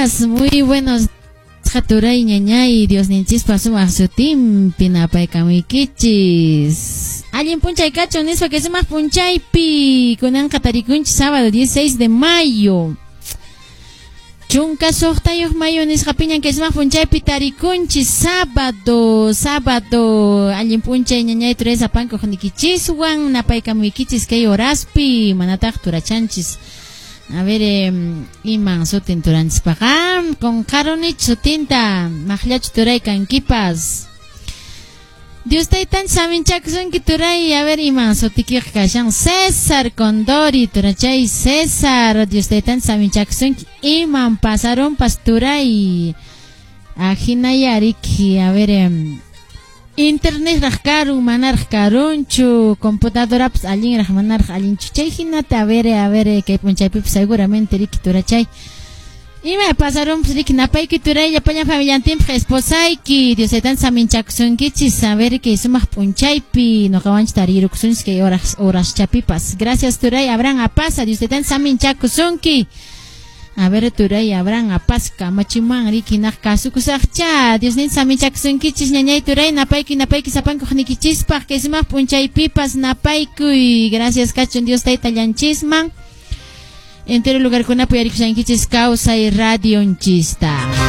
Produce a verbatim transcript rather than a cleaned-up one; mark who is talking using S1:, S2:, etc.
S1: Días, muy buenos turay, ñañay, Diosninchispa sumaq sutinpi napaykamuykichis. Allin p'unchay kachun nispa kay sumaq p'unchaypi kunanqa tarikunchis sábado dieciséis de mayo. Chunka suqtayuq mayo nisqapiñan kay sumaq p'unchaypi tarikunchis sábado, sábado, allin p'unchay, ñañay, turay, sapankuq nikichiswan napaykamuykichis kay horaspi manataq turachanchis. A ver, eh, iman sutin turanchispaqa qunqarunich sutinta maqllachu turay kankipas. Dios taytan saminchakusunki, turay. A ver, iman sutikiqa kashan? César Condori, turachay César, Dios taytan saminchakusunki. Iman pasarunpas, turay? Ahinayariki, a ver, eh, internet raq karun, manaraq karunchu, computadorapas allinraq manaraq allinchu, chay hinata. A ver, a ver, kay p'unchaypipas seguramente riki, turachay, ima pasarunpas riki. Napayki, turay, llapallan familiantinpaq, esposayki, Dios taytan saminchakusunkichis. A ver, kay sumaq p'unchaypi nuqawanchis tarirukusunchis kay horas horaschapipas. Gracias, turay Abraham Apasa, Dios taytan saminchakusunki. A ver, turay Abraham Apas kamachiman riki naq kasukusaqcha. Diosnin saminchakusunkichis, ñañay, turay, napaykuy, napaykuy sapankuq nikichispaq kay sumaq p'unchaypipas napaykuy. Gracias kachun Dios taytallanchisman. Entero lugarkunapi uyarikushankichis Kawsay Radionchista.